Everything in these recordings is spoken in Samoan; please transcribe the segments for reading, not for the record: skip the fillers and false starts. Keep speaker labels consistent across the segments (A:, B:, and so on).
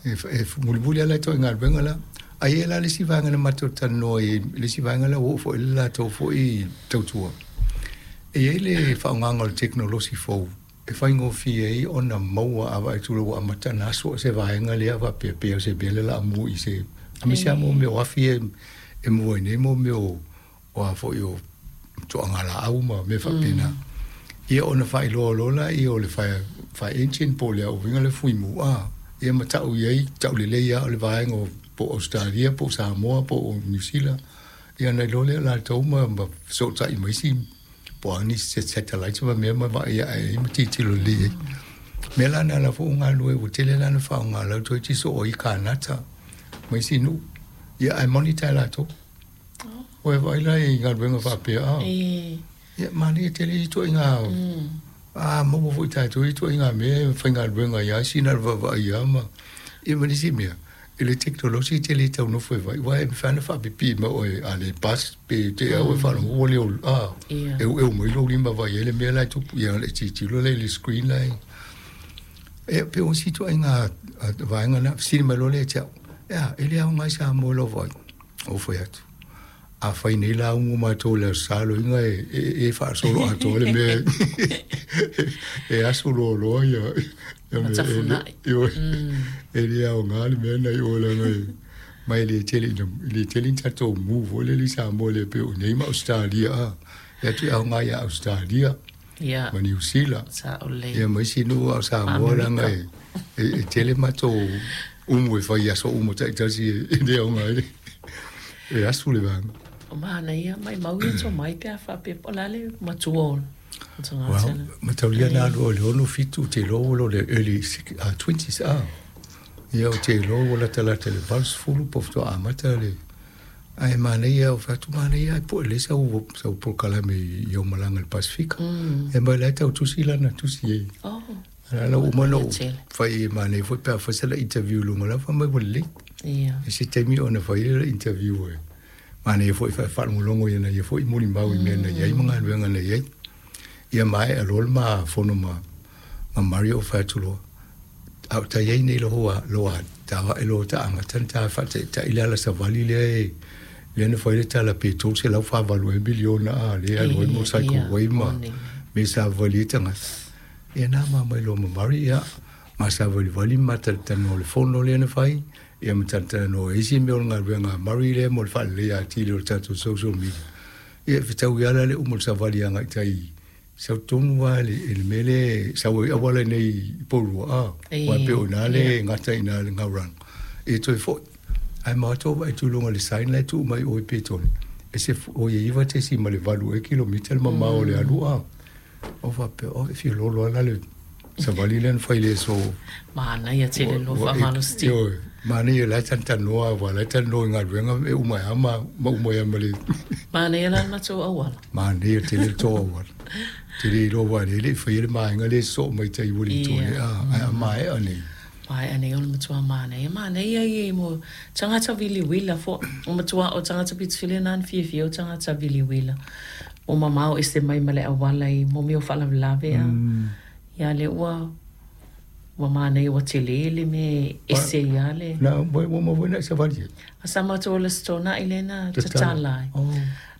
A: E mulimuli lava la ituaiga galuega la. Ae i ai la le isi vaega na matou talanoa ai i le isi vaega lea ua oo foi i ai le latou foi tautua. E i ai le faaaogaina o le tekonolosi fou e faigofie ai ona maua a vaai atu loa ua amata ona asu se vaega lea faapea pei o se mea lea o le a mu i se aemaise lava mo mea o afi ia e mu ai nei mo mea o a foi o toaga laau ma mea faapena. Ia ona faailoa loa lea o le fire, fire engine po o le uiga le fuimu a, ia ma tau i ai, tau lelei lava o le vaega o po o Ausetalia po o Samoa po o Niu Sila, ia ona iloa lea o latou ma fesootai ma isi po o a nisi satellites ma mea ma vaai ae ai ma tilotilo lelei ai. O mea la na la foi ua galulue ua tele la ona faaaoga la ua toeitiiti soo ai i Kanata ma isi nuu, ia ae monitor e latou. Ua e vaai la i galuega faapea a? Ia manaia tele ia ituaiga a maua foi tatou ia ituaiga mea e faigaluega ai lava sina le vaavaai lava ma ia ma nisi mea i le tekonolosi e te le tau nofo e vaai aua e mafai ona faapipii mai oe a le bus pe te au e faalogo ua le a eueu mai lou lima vaai ai le mea la e tupu ia ona e tilotilo lea i le screen la e e pei o isi ituaiga vaega na fesili mai loa lea ia te au e a e le aoga ai Samoa i lau vaai. Ou fai atu, afai nei la umu matou i le Aso Sa loiga e faasolo atoa le mea e asu loaloa ia
B: Matafunai.
A: E le aoga le mea na i o leaga e ma e le tele ina e le tele ni tatou mu foi lele i Samoa le pei o nei ma Ausetalia a. E atu e aoga ia Ausetalia ma Niu Sila.
B: Sao lelei.
A: Ia ma isi nuu a o Samoa leaga e tele matou umu e fai i aso uma taitasi e le aoga ai e asu le vaega.
B: O manaia, maimau ia tomai pe a faapea po o le a le matua o le tagata
A: lea. Mataulia na alu o le 6 7 ou te iloa ua i le early 20s a. Ia ou te iloa ua latalata i le 80 po o faatoa amata le. Ae manaia, ou fai atu, manaia ae pue lelei sau, sau polokalame i au malaga i le Pasefika. E mai la e tau tusi lana tusi e.
B: Oh.
A: A la ua uma ona ou fai e manaia foi pe a fai sala interview i luga la fai mai ua lelei.
B: Ia.
A: E se taimi ona fai lea interview e manaia foi e faalogologo i ana ia foi molimau i mea na i ai ma galuega na i ai. Ia maea loa le ma fono ma Mario ou fai atu loa, A o ta i ai nei loa loa ta ae loa ta amata ona ta faataitai le ala savali lea e lea na fai le tala pe 348 ea miliona a lea e alu ai mo cycleway ma mea savavali ai tagata. Ia na ma mai loa ma Murray ia ma savalivali ma talatalanoa i le fono lea na fai ia ma talatalanoa i isi mea o le galuega a Murray lea mo le faaleleia atili o le tatou social media. Ia e fetaui lava la le uma o le savali agai i tai. Sau tonu lava i le mea lea e sau ai auala i nei i Porirua, a, aua e pei o i ina lea e gata i ina le Gauranga. E toe foi, ae matou vaai atu i luga o le sign la e tuu mai o i Petone, e se oi e 9.8 ea kilomita le mamao o le alu, a. Ou faapea, oh, e fia lolo lava la le savali lea na fai i le aso.
B: Manaia tele lo faamalositino.
A: Ioe, manaia la e talatalanoa aua la e talanoa i galuega e uma ai lava ma uma ai lava ma le.
B: Manaia la le matou auala.
A: Manaia tele le tou auala. Ou te le iloa aua o lea e le i faia le vaega lea e sosoo mai tai Uelintone, a, ae a maea nei.
B: Maea nei o le matua manaia. Manaia ia mo tagata viliuila foi. O matua o tagata pitofili na na fiafia o tagata viliuila. Ua mamao ese mai ma le auala i mo mea o faalavelave a. Ia lea ua ua manaia ua tele le mea e ese ai lava le.
A: Na ua uma foi na e savali ai.
B: A sa matou ola setona'i lea na tatala ai.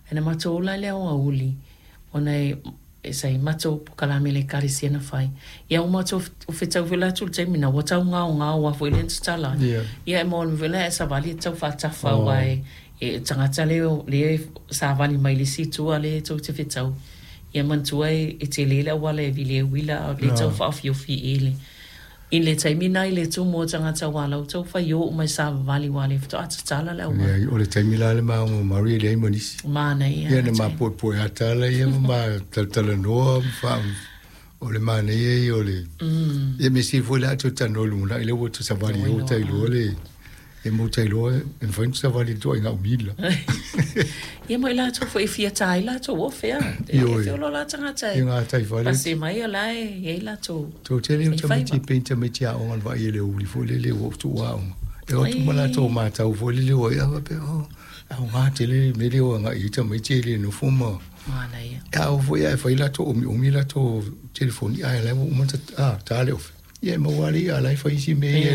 B: Ae na matou ola i le aoauli ona e e sa i matou pokalame le ekalesia na fai. Ia ua matou fetau foi la atu i le taimi na ua tau gaogao lava foi lea na tatala ai. Ia e maua foi la e savali e tau faatafa aua e e tagata lea lea savali mai le isi itu a lea tou te fetau. Ia manatua e tele le auala e vili ai uila a o lea e tau faaofiofi i le I le taimi na i le tumu o tagata ua lau tau fai o uma i savavali ua le faatoa tatala le auala.
A: Leai, o le taimi la le ma Marie e leai ma nisi.
B: Manaia.
A: Ia na ma poepoe ata la ia ma ma talatalanoa ma fa o le manaia ia o le ia mea sili foi la a toe talanoa i lumanai lea ua toe savali ai ua ta iloa le E mou tai loa e mafai ona savali i le ituaiga umila.
B: Ia mo i latou foi e fia ta ai latou ofe a.
A: Ioe.
B: E feola la tagata e.
A: I ngā tai whare.
B: Pase mai o la e i ai latou.
A: Tau tele o tamaiti pei tamaiti aoga na vaai e le uli foi lele ua tuu aoga. E o atu ma latou matau foi lele ua ia faapea oh aoga tele le mea lea ua agai i ai tamaiti e le nofo ma.
B: Manaia.
A: A oo foi ae fai latou omiomi latou telefoni ae la ua uma ona ta le ofe. Ia e maua lava le i'a la e fai isi mea ia.